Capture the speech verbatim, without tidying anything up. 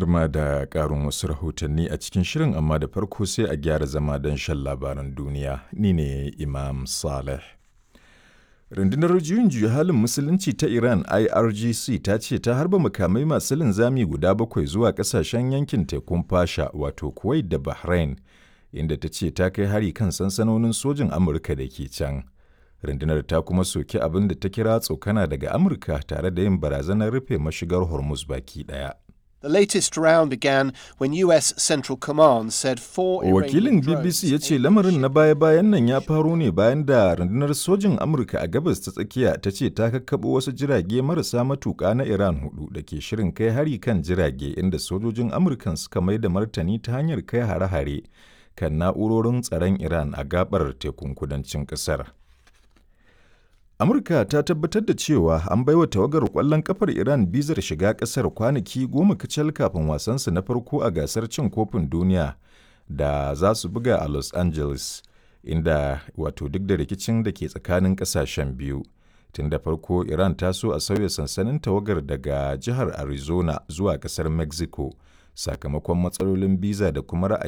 Har ma da ƙarin wasu rahotanni a cikin shirin, amma da farko sai a gyara zama don shan labaran duniya. Ni ne Imam Saleh. Rundunar Juyin Juya Halin Musulunci ta Iran I R G C ta ce ta harba makamai masu linzami guda bakwai zuwa ƙasashen yankin tekun Fasha, wato Kuwait da Bahrain, inda ta ce ta kai hari kan sansanonin sojin Amurka da ke can. Rundunar ta kuma soki abin da ta kira tsokana daga Amurka tare da yin barazanar rufe mashigar Hormuz baki ɗaya. The latest round began when U S Central Command said four Wakilin B B C ya ce lamarin na baya-bayan nan ya faro ne bayan da rundunar sojin Amurka a Gabas ta Tsakiya ta ce ta kakkaɓo wasu jirage marasa matuƙa na Iran hudu da ke shirin kai hari kan jirage, inda sojojin Amurkan suka mai da martani ta hanyar kai hare-hare kan na'urorin tsaron Iran a gabar tekun kudancin ƙasar. Amurka ta tabbatar da cewa an baiwa tawagar ƙwallon kafar Iran bizar shiga ƙasar kwanaki goma kacal kafin wasansu na farko a gasar cin kofin duniya da za su buga a Los Angeles, inda wato duk da rikicin da ke tsakanin ƙasashen biyu. Tun da farko Iran ta so a sauya sansanin tawagar daga jihar Arizona zuwa ƙasar Mexico sakamakon matsalolin biza da kuma ra'ayin